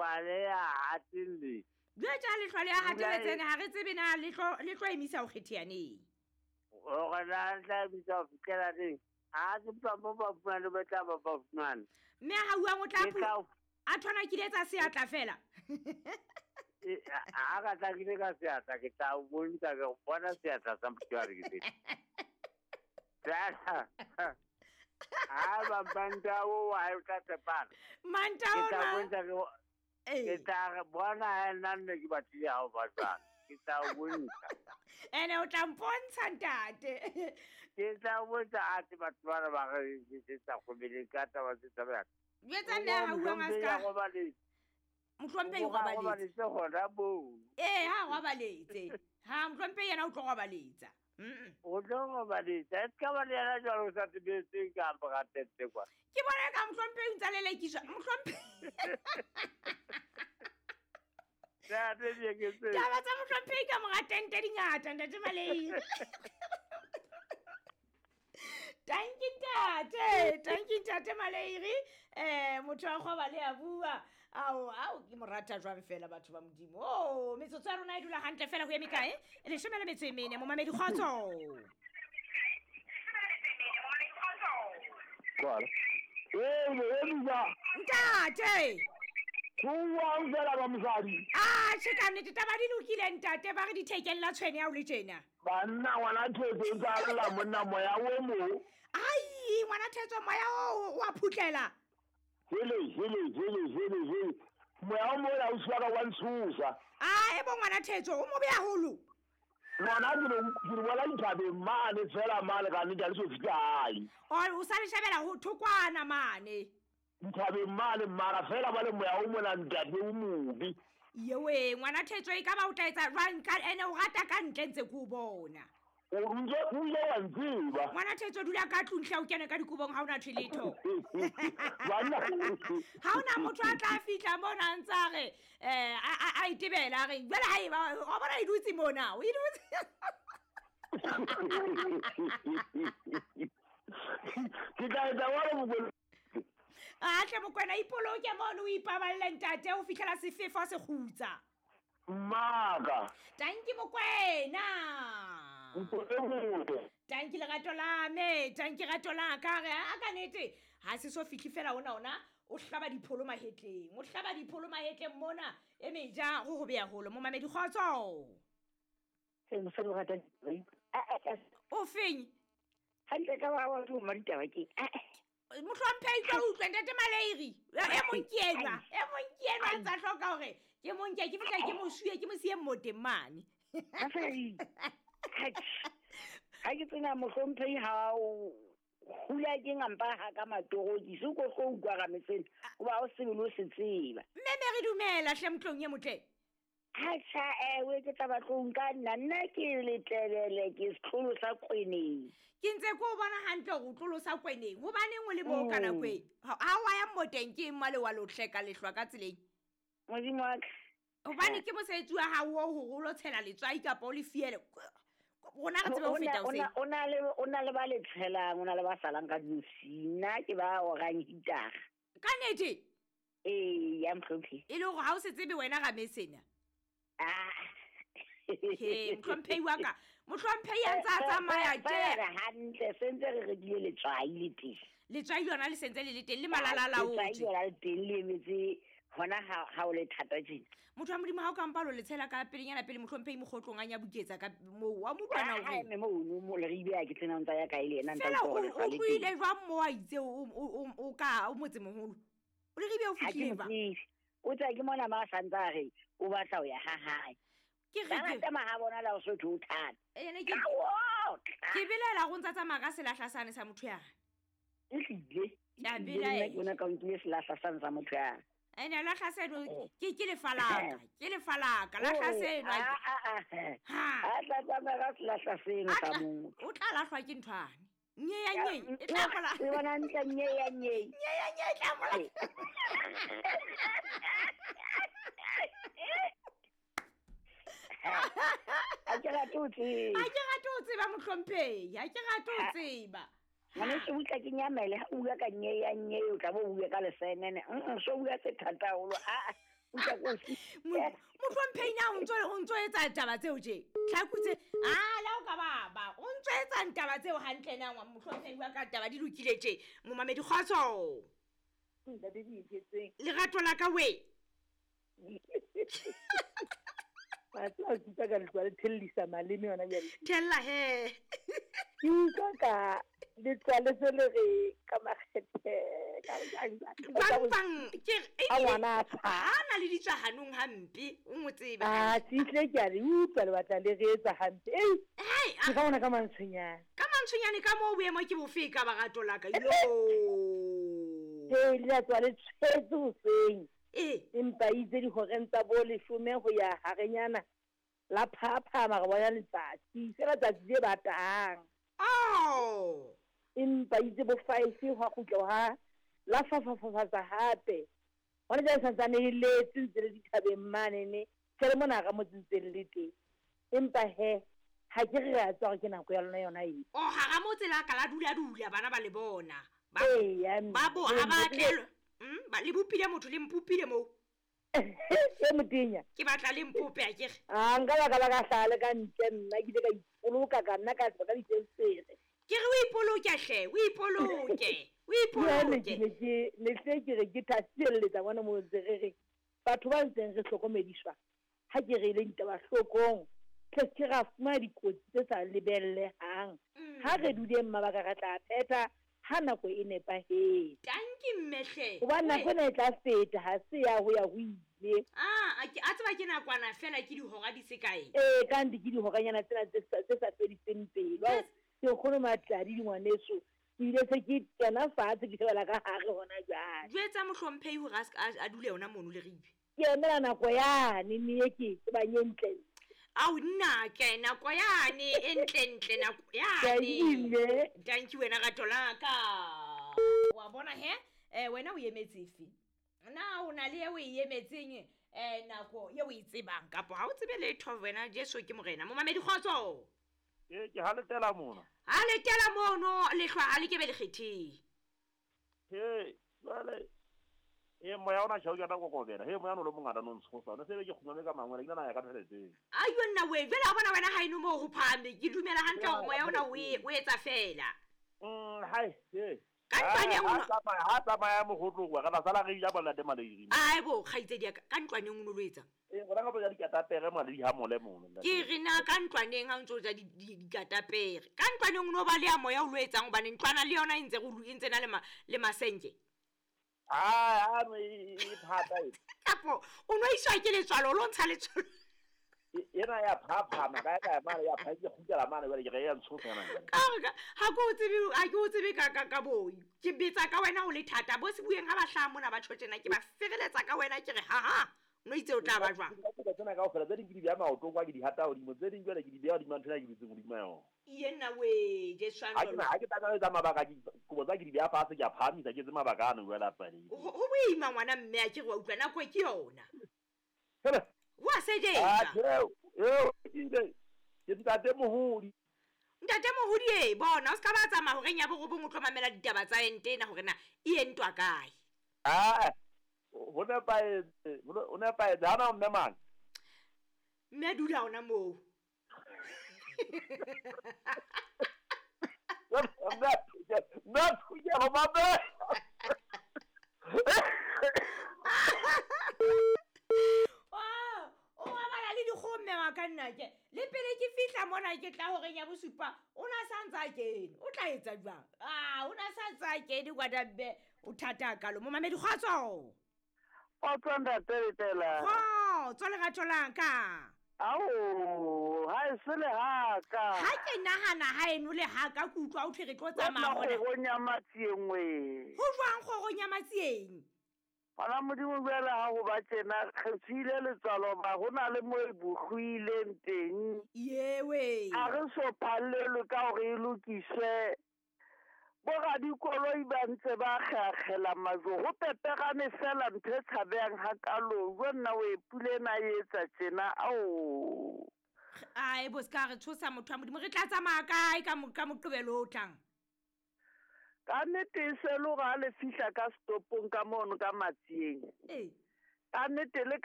Lehlwa le a hatelletse. Jwetsa lehlwa le a hatelletseng ha re tsebe na le tlo emisa ho kgetheaneng. Hore na le tla emisa ho fihlela neng? Ha ke tla mo ba fumane ba tla ba ba fumane. Mme ha uang o tla a thona ke letsa seatla fela. Ha ka tla ke ka seatla ke tla o bontsha ke bona seatla sa motho wa re ke. Tla. Ha ba banta o wa e tla tsepana. Manta o na. Ke tla bona nna nne ke batlile ha o batla. Ke tla o bontsha. Ene o tla mpontsha ntate. Ke tla o bontsha a te batho ba ba re ke tsa go bele ka taba tse tsa ba. Jwetsa nne ha uang a ska. Mohlomphehi o robaletse hona moo. Ee, ha robaletse. Ha mohlomphehi yena o tlo robaletsa. O tlo robaletsa. E ska ba le yena jwalo o sa tsebetseng ka mora tente kwa. Ke bona ka mohlomphehi o ntsa lelekiswa. Mohlomphehi. Taba tsa mohlomphehi ka mora tente di ngata ntate Malei. Tanki ntate, tanki ntate Maleiri. Motho wa kgoba le a bua. Ao, ao ke mo rata jwang fela batho ba Modimo. Oh, metsotso ya rona e dula hantle fela ho eme kae? 14, momamedi kgotso. Ntate. Kuwa fela ba mosadi. Ah, che ka nnete taba di lokile ntate, ba re dithekeng la tshwene ya o le tjena. Banna ngwana thetso tsa lla monna moya o mo. Ai, ngwana thetso moya o wa phutlela. Hele hele hele hele hele. Moya o mo la o swaka wa ntshusa. Ah, e bo ngwana thetso o mobe haholo. Ngwana ke re bona dithabeng mane fela mane ka nnete le so fihla hae. O sa le shabela ho thokwana mane. Dithabeng mane mara fela ba le moya o mona ntate o mobe. Yewe ngwana thetso e ka ba o tla etsa jwang ka ene o rata ka ntle ntse ke o bona. O ile wa ntseba. Ngwana thetso dula ka tlung hle o kene ka dikobong ha ona thwe letho. Ha ona motho a tla fihla mona ntse a re a itebela a re jwale ha eba o bona e dutse mona o e dutse. Ke tla etsa wa re mokwena. A tle mokwena ipoloke mono o ipaballe ntate o fihlela sefefo se kgutsa. Maka. Tanki mokwena. Tanki lerato la me, tanki rato la ka re a ka nete ha se so fihli fela ona o hlaba dipholo mahetleng. O hlaba dipholo mahetleng mona e meja go go beya holo momamedi kgotso. O feng? Hantle ka wa wa maditaba ke. Mohlomphehi tlo utlwa ntate Maleiri. E mong ke enwa, e mong ke enwa ntsa hloka hore ke mong ke fihla ke mo suye ke mo siye mmoteng mane. Ha ke tsena mohlomphehi ha o hula ke ngampa ha ka matoroki se ko go utlwa ga metsena o ba o sebele o se tseba. Mme me re dumela hle motlong ye motle. Ha cha ewe ke tla batlong ka nna nna ke letlelele ke setlolo sa kweneng. Ke ntse ke o bona hantle hore o tlolo sa kweneng. Hobaneng o le moo ka nako e? Ha wa ya mmoteng ke mmale wa lohle ka lehlwa ka tseleng. Modimo wa ka. Hobane ke mosebetsi wa hao hore o lo tshela letswai kapa o le fiele. Rona re tsebe ho feta o se. O na le ba le tshelang, o na le ba salang ka diosi. Nna ke ba orang hitara. Ka nnete? Ee, ya mhlophe. E le hore ha o se tsebe wena ga mesena. He, mohlomphehi wa ka. Mohlomphehi a ntse a tsamaya tje. Hantle sentse re rekile letswai le teng. Letswai lona le sentse le le teng le malala la o. Letswai lona le teng le emetse hona ha o le thata tjena. Motho wa Modimo ha o ka mpa lo le tshela ka pelenyana pele mohlomphehi mogotlong a nyabuketsa ka moo wa mo utlwana o re. Mme mo mo le re ibea ke tsena ntsa ya kae le yena ntsa o o tloile jwang mo a itse o ka o motse moholo. O le re ibea o fihlile ba. O tsa ke mona ma santsa re o batla ho ya ha hae. Ke re ke tsamaya ha bona la o sotho o thata. Ene ke ke belela go ntsa tsamaya ka selahla sane sa motho ya. Ehlile. Ya belaela. Ke bona ka nkile selahla sane sa motho ya. Ene lahla seno ke lefalaka, ke lefalaka lahla seno. Ha. A tla tsamaya ka selahla seno sa motho. O tla lahlwa ke nthwane. Nye ya nye e tla mola. E bona ntle nye ya nye. Nye ya nye e tla mola. A ke rate ho tseba. A ke rate ho tseba mohlomphehi, a ke rate ho tseba. Ngwane se butla ke nyamele ha o bua ka nye ya nye o tla bo bua ka lesenene. So bua se thata haholo. A o Mohlomphei na o ntso etsa taba tseo tje? Tlhaku tse a la o ka baba. O ntso etsa taba tseo hantle na mohlomphei wa ka taba di lokile tje. Momamedi kgotso. Ntate Dieketseng. Lerato la ka we. Wa tseba ke utlwa ka letlwa le thellisa maleme yona bjale. Thella he. Ke utlwa ka letlwa le se le re ka makgethe ka bang ke a ngwana a ha na le ditswa hanong hampe o mo tsebe. A tsitle ke a le utlwa le batla le re etsa hampe. Ei. Hai, ke ka bona ka mantshonyane. Ka mantshonyane ka moo boemo ke bofe ka barato la ka. Yo. Ee, le tswa le tshwetse hoseng. Ee. Empa itse dihoreng tsa bo 10 ho ya harenyana la phaphama re bona letsatsi. Fela tsatsi le batang. Oh. Empa itse bo 5 hwa kgutla ha la fafafafatsa hape. Hona jwale santsane e letse ntse le dithabeng mane ne. Tjhe mona ra motse ntse le teng. Empa he ha ke re a tswa ke nako ya lona yona e. Oh, ha ra motse la ka la dula dula bana ba le bona. Ba ba bo ha ba tlelwa. Ba le bopile motho le mpopile moo. E motenya. Ke batla le mpope a kere. Ah, nka ba ka la ka hlale ka ntle nna ke ile ka ipoloka ka nna ka tswa ka difenstere. Ke re o ipoloke hle, o ipoloke. O ipoloke. Ke ne hle ke re ke thasielletsa bona mo ntse re re batho ba ntseng re hlokomediswa ha ke re le ditaba hlokong. Tle ke ra fumana dikotsi tse sa lebellehang. Ha re duleng mabaka re tla phetha ha nako e nepahetse. Tanki mmehle. Hobane nako ena e tla feta ha se ya ho ya ho ile. Ah, a tseba ke nakwana fela ke dihora di se kae. Ee, ka nnete ke dihoranyana tsena tse sa fediseng pelo. Ke nkgono Matladi dingwaneso. Ke ile se ke kena fatshe ke shebela ka hare hona jwale. Jwetsa mohlomphei hore a dule yona mono le ribe. Ke emela nako yane mme ke tsebang e ntle. Au nna ke nako yane e ntle nako yane. Thank you wena rato la ka. Wa bona he wena o emetse efe? Na o na le e o e emetseng nako ye o e tsebang kapa ha o tsebe letho wena Jesu ke morena. Momamedi kgotso. Ee, ke ha letela mona. Ha letela mono lehlwa ha le kebe le kgetheng. He, jwale e moya ona tjhau ke kokobela. He moya no le mongata no ntshosa. Ne sebe ke kgumame ka mangwele ke nna ya ka theletseng. Ayo nna we, jwale ha bona wena ha eno mo ho phahame. Ke dumela hantle hore moya ona o etsa fela. Hai, he. Ka ntlwaneng o ha tsamaya mogotlo wa ka sala re ja bona te maleiri. Ai bo kgaitsedi ya ka ntlwaneng o no lo etsa. Ee, gona ka ja dikatapere male di ha mole mono. Ke re na ka ntlwaneng ha o ntso ja dikatapere. Ka ntlwaneng o no ba le ya moya o lo etsang hobane ntlwana le yona e ntse e ntse na le masenke. Ah, e thata e. Kapo o no iswa ke letswalo lo ntsha letswalo. Ena ya phaphama ka ya mane ya pha ke kgutlela mane jwale ke re ya ntshosa yona. Ka ha ke o tsebe ha ke o tsebe ka boi. Ke betsa ka wena o le thata bo se bueng ha ba hlaha mona ba tjho tjena ke ba fereletsa ka wena ke re ha ha. No itse o tla ba jwang. Ke tsena kaofela tse ding ke di beha maotong kwa ke di hata hodimo tse ding jwale ke di beha hodimo ntho ena ke dutseng hodimo ya yona. Yena we Jesu a ha ke tla etsa mabaka ke kobo tsa ke di beha fatshe ke a phahamisa ke etse mabaka ano jwale a pale. Ho boima ngwana mme a ke re wa utlwa nako ke yona. Hele. Wa sejetsa. Ah, ke ke ntate Mohodi. Ntate Mohodi e bona o ska ba tsamaya horeng ya borobong o tlo mamela ditaba tsa ente ena hore na e entwa kae. Ah, ho nepahetse ha na mme mang. Mme dula hona moo. Mme thunya ho mamela. O bala le dikgomme wa ka nna ke le pele ke fihla mona ke tla horeng ya bosupa o na sa ntsa kene o tla etsa jwang? Ah, o na sa ntsa kene kwa mme o thata kalo. Momamedi kgotso. Kgotso ntate Letela. Kgotso lerato la ka. Ao, ha e se le haka. Ha ke nahana ha eno le haka ke utlwa o thwe re tlo tsamaya hona. Kgorong ya Matsieng we. Ho jwang kgorong ya Matsieng? Hona Modimo jwale ha ho ba tjena re tswile letswalo ba ho na le mo e bohwileng teng. Yewe. A re so phallelwe ka hore e lokiswe. Bo radikoloi ba ntse ba kgakgela majwe ho peperane fela ntho e tshabehang hakalo. Jwe nna o e pule ena e etsa tjena ao. Ai bo ska re tshosa motho wa Modimo re tla tsamaya kae ka moqebelo o tlang? Ka nnete e se le hore ha le fihla ka stopong ka mono ka Matsieng. Ee. Ka nnete le ka